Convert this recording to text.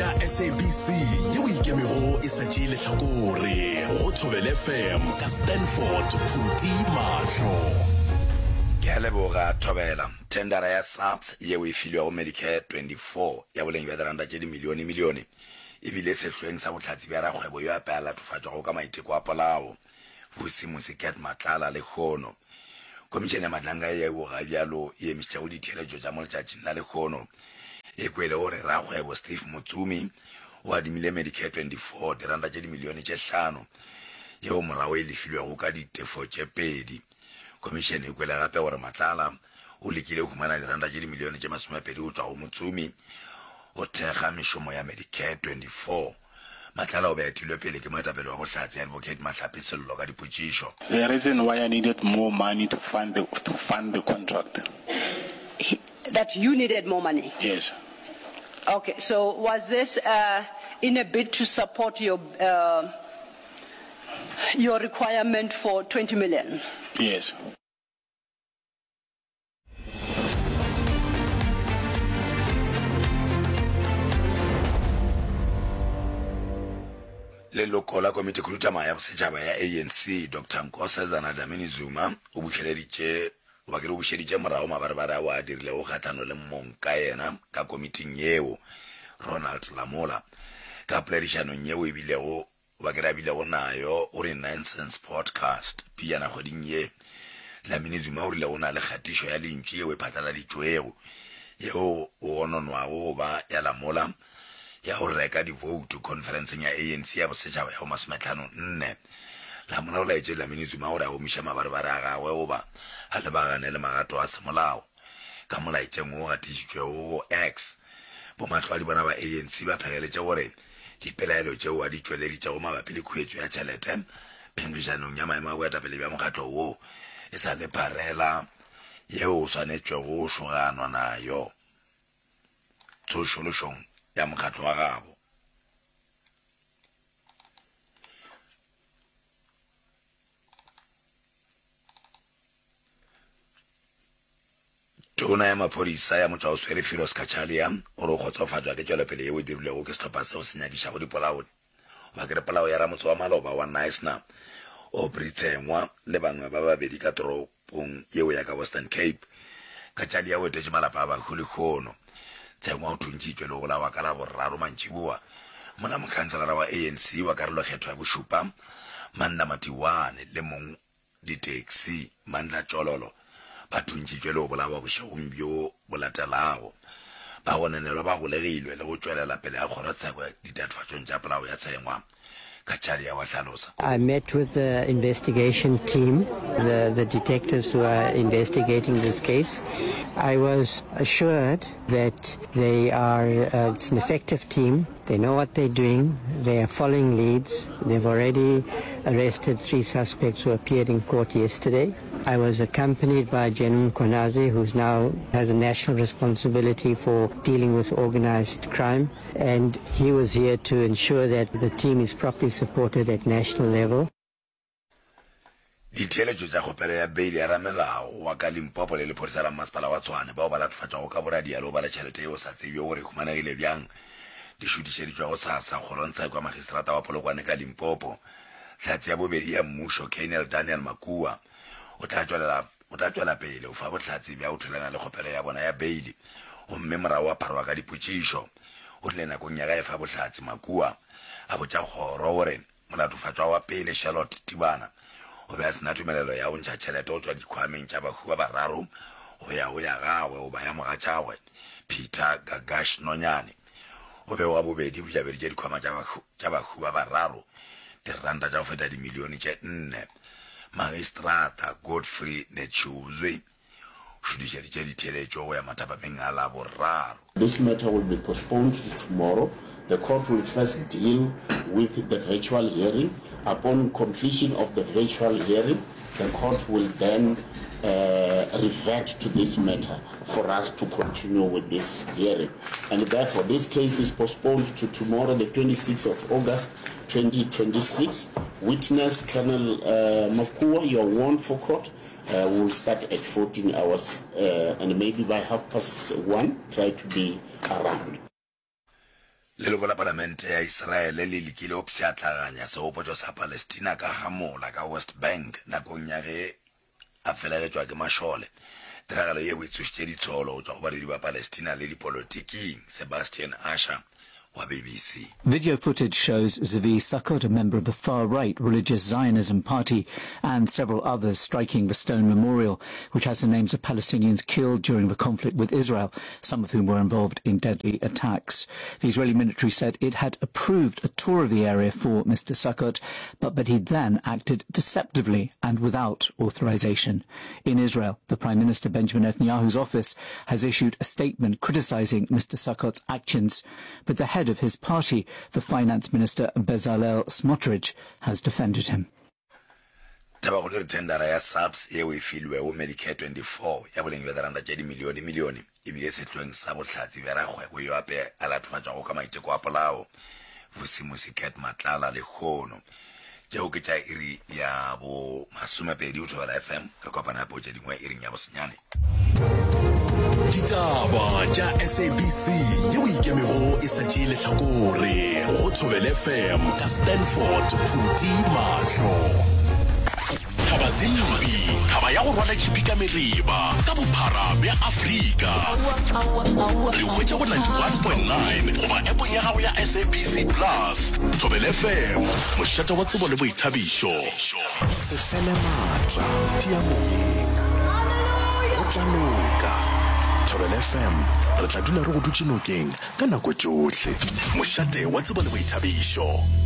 Tša SABC yeo e ikemego e sa tšee lehlakore go Thobela FM ka Stanford Phuti Mahlo. Ke a leboga Thobela. Thendara ya SAPS yeo e filwego Medicare 24 ya boleng bja diranta tše dimilionemilione e bile sehlweng sa bohlatse bja rakgwebo yo ape a latofatšwago ka maiteko a polao, Vusimusi Cat Matlala lehono. Khomišene ya Matlanka yeo ga bjalo e emišitšego ditheeletšo tša mo letšatšing la lehono e kwele gore rakgwebo Steve Motsumi o adimile Medicare 24 diranta tše dimilione tše hlano yeo morago e lefilwego ka ditefo tše pedi. Khomišene e kwele gape gore Matlala o lekile go humana diranta tše dimilione tše masomepedi go tšwa go Motsumi go thekga mešomo ya Medicare 24. Matlala o be a etilwe pele ke moetapele wa bohlatse Advocate Mahlape Sello ka dipotšišo. The reason why I needed more money to fund the, to fund the contract. He, that you needed more money? Yes. Okay, so was this uh, in a bid to support your, uh, your requirement for 20 million? Yes. Leloko la Komitikhuduthamaga ya Bosetšhaba ya ANC, Doctor Nkosazana Dlamini Zuma, o bušeleditše goba ke re o bušeditše morago mabarebare ao a dirilego kgahlano le mongkayena ka komiting yeo, Ronald Lamola. Ka poledišanong yeo e bilego Goba ke re a bilego nayo o re Nonsense Podcast pejana kgweding ye. Dlamini Zuma o rile go na le kgatišo ya lentšu yeo e phatlaladitšwego yeo go gononwago go ba ya Lamola ya go reka divoutu khonferenseng ya ANC ya bosetšhaba ya bo masometlhano-nne. Lamola o laetše Dlamini Zuma gore a gomiše mabarebare a gagwe goba a lebagane le magato a semolao. Ka molaetšeng wo o gatišitšwego go X, bomahlwadi bona ba ANC ba phegeletše gore Dipelaelo tšeo a di tšweleditšego mabapi le khuetšo ya tšhelete phenkgišanong ya maemo a boetapele bja mokgatlo wo e sa le pharela yeo o swanetšwego go šoganwa nayo tsošološong ya mokgatlo wa gabo. Tona ya Maphodisa ya Motšwaoswere Firoz Cachalia o re o kgotsofatšwa ke tšwelopele yeo e dirilwego ke sehlopha seo se nyakišago dipolao goba ke re polao ya ramotse wa maloba wa Knysna Aubrey Tsengwa le bangwe ba babedi ka toropong yeo ya ka Western Cape. Cachalia o etetše malapa a bahu lehono. Tsengwa o thuntšitšwe le go bolawa ka Laboraro mantšiboa mola mokhanselara wa ANC wa karolokgetho ya bošupa Mandla Matiwane le mong Ditaxi, Mandla Tšololo, ba thuntšitšwe le go bolawa bošegong bjo bo latelago. Bagononelwa ba golegilwe le go tšwelela pele ga kgorotsheko ditatofatšong tša polao ya Tshengwa, Cachalia wa hlalosa. I met with the investigation team, the, the detectives who are investigating this case. I was assured that they are, uh, it's an effective team. They know what they're doing. They are following leads. They've already arrested three suspects who appeared in court yesterday. I was accompanied by General Mkhwanazi, who's now has a national responsibility for dealing with organized crime. And he was here to ensure that the team is properly supported at national level. Ditheeletšo tša kgopelo ya beile ya ramelao wa ka Limpopo le lephodisa la mmasepala wa Tshwane bao ba latofatšwago ka boradia le go ba le tšhelete yeo sa tsebjego gore e humanegile bjang di šutišeditšwe gosasa kgorongtsheko ya magistrata wa Polokwane ka Limpopo. Hlatse ya bobedi ya mmušo, Colonel Daniel Makua, o tla tšwelela o tla tšwela pele go fa bohlatse bja go thulana le kgopelo ya bona ya beile gomme morago wa pharwa ka dipotšišo. O rile nakong ya ge a efa bohlatse, Makua a botša kgoro gore Molatofatšwa wa pele, Charlotte Tibana, o be a se na tumelelo ya go ntšha tšhelete go tšwa dikhwameng tša bahu ba bararo go ya go ya gagwe goba ya mogatšagwe, Peter Gagash Nonyane. O be wa bobedi go jabeditše dikhwama tša bahu ba bararo diranta tša go feta dimilione tše nne. Magistrata Godfrey Netshiuzwi o šutišeditše ditheeletšo go ya mathapameng a Laboraro. This matter will be postponed to tomorrow. The court will first deal with the virtual hearing. Upon completion of the virtual hearing, the court will then revert to this matter for us to continue with this hearing. And therefore, this case is postponed to tomorrow, the 26th of August, 2026. Witness Colonel Makua, you are warned for court. Uh, we'll start at 14 hours uh, and maybe by half past one try to be around. Leloko la Palamente ya Israele le lekile go pšhatlaganya segopotšo sa Palestina ka Hamola ka West Bank nakong ya ge a felegetšwa ke mašole. Tiragalo yeo e tsošitše ditsholo go tšwa go badudi ba Palestina le dipolotiking. Sebastian Usher wa BBC. Video footage shows Zvi Sukkot, a member of the far-right religious Zionism party, and several others striking the stone memorial, which has the names of Palestinians killed during the conflict with Israel, some of whom were involved in deadly attacks. The Israeli military said it had approved a tour of the area for Mr. Sukkot, but that he then acted deceptively and without authorization. In Israel, the Prime Minister Benjamin Netanyahu's office has issued a statement criticizing Mr. Sukkot's actions, but the head of his party, the Finance Minister Bezalel Smotrich, has defended him. Tabakgolo e re thendara ya SAPS yeo e filwego Medicare 24 ya boleng bja diranta tše dimilionemilione e bile sehloeng sa bohlatse bja rakgwebo yo ape a latofatšwago ka maiteko a polao, Vusimusi Cat Matlala lehono. Tšeo ke tša iri ya bo masomepedi go Thobela FM. Re kopana gape go tše dingwe iring ya bosenyane. Ditaba tša SABC yeo e ikemego e sa tšee lehlakore go Thobela FM ka Stanford Phuti Mahlo. Thaba Zimbi, thaba ya go rwala tšhipi ka mereba ka bophara bja Afrika. Re hwetša go 91.9 goba appong ya gago ya SABC Plus. Thobela FM, mošate wa tsebo le boithabišo. Se fele maatla, tia moyeng. Go tla loka. Thobela FM, re tla dula re go dutše nokeng ka nako tšohle. Mošate wa tsebo le boithabišo.